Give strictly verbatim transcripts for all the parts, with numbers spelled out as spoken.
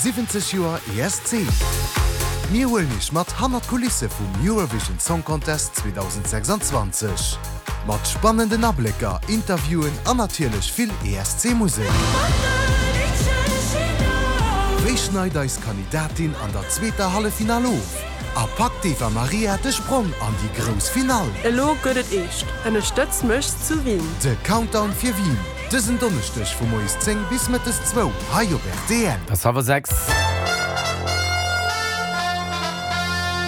siwwenzeg Joer E S C. Mir huelen iech mat hannert d'Kulisse vum Eurovision Song Contest zweedausendsechsanzwanzeg. Mat spannenden Ablécker, Interviewen an natierlech vill E S C-Musek. Wéi schneit eis Kandidatin an der zweeter Halleffinall of? A packt d'Eva Marija de Sprong an déi grouss Finall? Elo gëtt et eescht. Ënnerstëtz mech zu Wien. De Countdown fir Wien. Dësen Donneschdeg vu moies zéng bis mëttes zwou hei op R T L. Et ass hallwer sechs.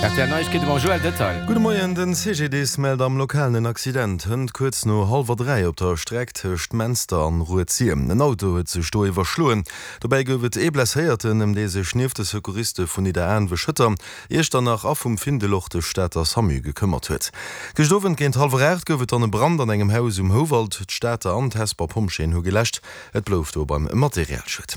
R T L Neiegkeete mam Joël Detail. Gudde Moien, Den C G D I S mellt am Lokalen en Accident hënt kuerz no hallwer dräi op der Streck tëscht Menster an Rued-Sir. En Auto huet sech do iwwerschloen. Dobäi gouf et ee Blesséierten, ëm dee sech nieft de Secouriste vun Nidderaanwen, Schëtter, Iechternach a vum Findel och de Stater SAMU gekëmmert huet. Gëscht Owend géint hallwer aacht gouf et dann e Brand an engem Haus um Houwald. D'Stater an d'Hesper Pompjeeën hu geläscht. Et blouf do beim Materialschued.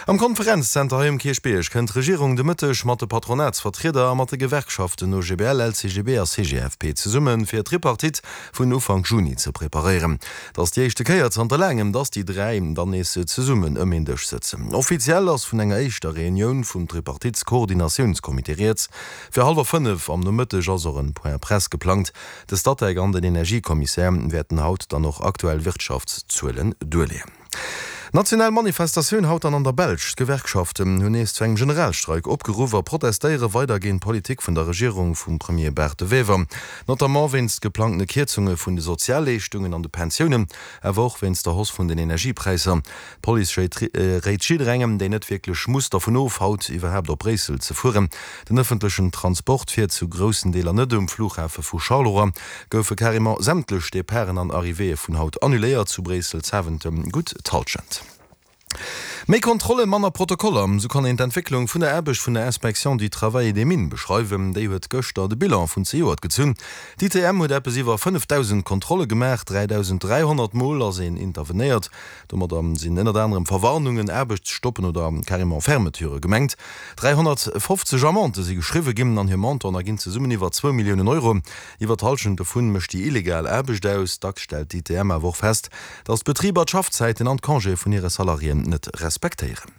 Am Konferenzzenter hei um Kierchbierg kënnt d'Regierung de Mëtteg mat de Patronatsvertrieder a mat de Gewerkschaften O G B L, L C G B a C G F P zesummen, fir d'Tripartite vun Ufank Juni ze preparéieren. Et ass déi éischte Kéier zanter laangem, dass déi dräi dann nees zesummen ëm een Dësch sëtzen. Offiziell ass vun enger éischter Reunioun vum Tripartitskoordinatiounscomité rieds. Fir hallwer fënnef am Nomëtteg ass och en Point Presse geplangt. De Statec an den Energiekommissär wäerten haut dann och aktuell Wirtschaftszuelen duerleeën. National Manifestatioun haut dann an der Belsch. D'Gewerkschaften hunn nees zu engem Generalstreik opgeruff a protestéiere weider géint d'Politik vun der Regierung vum Premier Bart De Wever. Notamment wéinst geplangtene Kierzunge vun de Sozialleeschtungen an de Pensiounen, awer och wéinst der Hausse vun den Energiepräisser. D'Police réit jidderengem, deen net wierklech muss, dervun of, haut iwwerhaapt op Bréissel ze fueren. Den ëffentlechen Transport fiert zu groussen Deeler net. Um Flughafe vu Charleroi goufe carrément sämtlech Departen an Arrivéeë vun haut annuléiert. Zu Bréissel Zaventem gutt d'Hallschent. Méi Kontrollen, manner Protokoller, sou kann een d'Entwécklung vun der Aarbecht vun der Inspection du Travail et des Mines beschreiwen. Déi huet gëschter de Bilan vun zejoert gezunn. D'I T M huet eppes iwwer fënnefdausend Kontrolle gemaach, dräidausend dräihonnert Mol ass een intervenéiert. Domadder sinn ënnert anerem Verwarnungen, Aarbechtsstoppen oder carrément Fermeturë gemengt. dräihonnertfofzeg Amendë si geschriwwe ginn an hir Montanten erginn zesummen iwwer zwou Milliounen Euro. Iwwer d'Hallschent dovun mécht déi illegal Aarbecht aus. Dacks stellt d'I T M awer och fest, datt d'Betriber d'Schaffzäiten an d'Congéë vun hire Salariéen net respektéieren.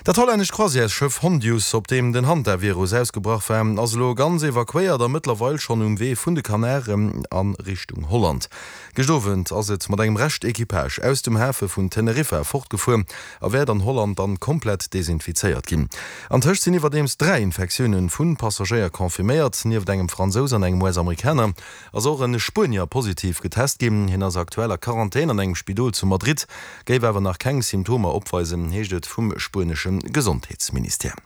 Dat hollännescht Croisièresschëff Hondius, op deem den Hantavirus ausgebrach war, ass elo ganz evakuéiert a mëttlerweil schonn um Wee vun de Kanaren a Richtung Holland. Gëscht Owend ass et mat engem Rescht-Equipage aus dem Hafe vun Teneriffa fortgefuer a wäert an Holland dann komplett desinfizéiert ginn. Antëscht sinn iwwerdeems dräi Infektioune vu Passagéier confirméiert. Nieft engem Fransous an engem U S-Amerikaner ass och e Spuenier positiv getest ginn. Hien ass aktuell a Quarantän an engem Spidol zu Madrid, géif awer nach keng Symptomer opweisen, heescht et vum spuenesche Gesondheetsministère.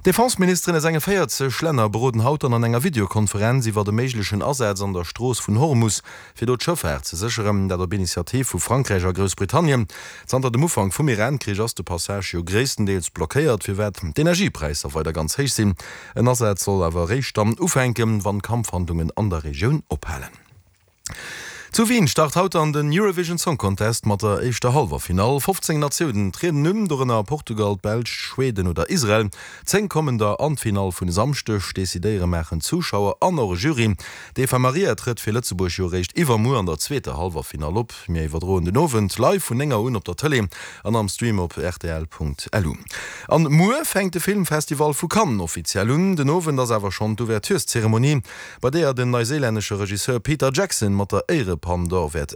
D'Defenseministeren aus enge véierzeg Länner beroden haut dann an enger Videokonferenz iwwer de méiglechen Asaz an der Strooss vun Hormus, fir do d'Schëffaart ze sécheren, dat op Initiativ vu Frankräich a Groussbritannien. Zanter dem Ufank vum Iran-Krich ass de Passage jo gréisstendeels blockéiert, firwat d'Energiepräisser weider ganz héich sinn. En Asaz soll awer eréischt dann ufänken, wann d'Kampfhandlungen an der Regioun ophalen. Zu Wien start haut dann den Eurovision Song Contest mat der éischter Hallwerfinall. fofzéng Natiounen trieden un, dorënner Portugal, d'Belsch, Schweden oder Israel. Zéng kommen der an d'Finall vun e Samschdeg. Decidéiere maachen d'Zuschauer an och e Jury. D'Eva Marija trëtt fir Lëtzebuerg jo eréischt iwwermuer an der zweeter Hallwerfinall op. Mir iwwerdroen den Owend live vun néng Auer un op der Tëlee an am Stream op R T L Punkt L U. An muer fänkt de Filmfestival vu Cannes offiziell un. Den Owend ass awer schonn d'Ouvertureszeremonie, bei deeër den neuseelännesche Regisseur Peter Jackson mat der Éierepalm d'Or wäert